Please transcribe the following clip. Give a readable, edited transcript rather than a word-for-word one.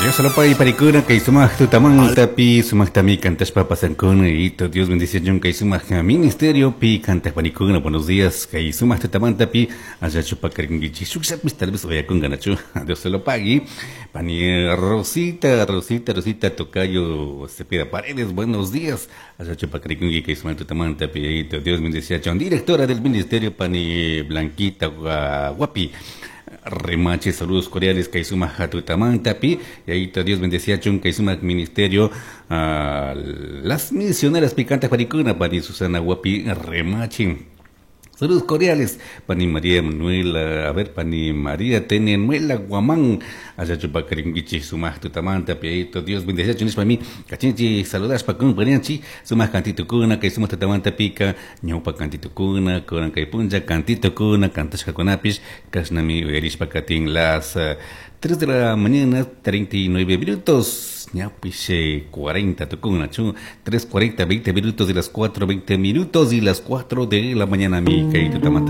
Dios lo pague panicuna kay sumaq tutamantapi sumaqtami kantashpa pasankuna y Dios bendice kay sumaq ministerio pi kantaq panicuna. Buenos días, kay sumaq tutamantapi allachu pakarinkichik shukllapis tal vez uyakunkanachu. Dios se lo pague. Pani Rosita, Rosita, Rosita Tocayo Cepeda Paredes, buenos días, allachu pakarinki kay sumaq tutamantapi. Dios bendice. Directora del ministerio, pani Blanquita Guapi Remache, saludos cordiales kay sumaq tutamantapi. Yayito Dios bendeciachun kay sumaq ministerio, las misioneras picantes panicuna, pani Susana Guapi Remache. Saludos cordiales, pani María Manuela, a ver, pani María Tenenuela Guamán, allachu pakarinkichik sumaq tutamantapi. Yayito Dios bendeciachun nishpami kachinchik saludashpa kumparianchik sumaq kantitukuna kay sumaq tutamantapika ñawpa kantitukuna kunan kay punlla kantitukuna kantashkakunapish kashnami uyarishpa katin. Las 3 de la mañana, 39 minutos, ñapish 40 tukunachu, 3:40, 20 minutos de las 4, 20 minutos y las 4 de la mañana mi kay tutamanta.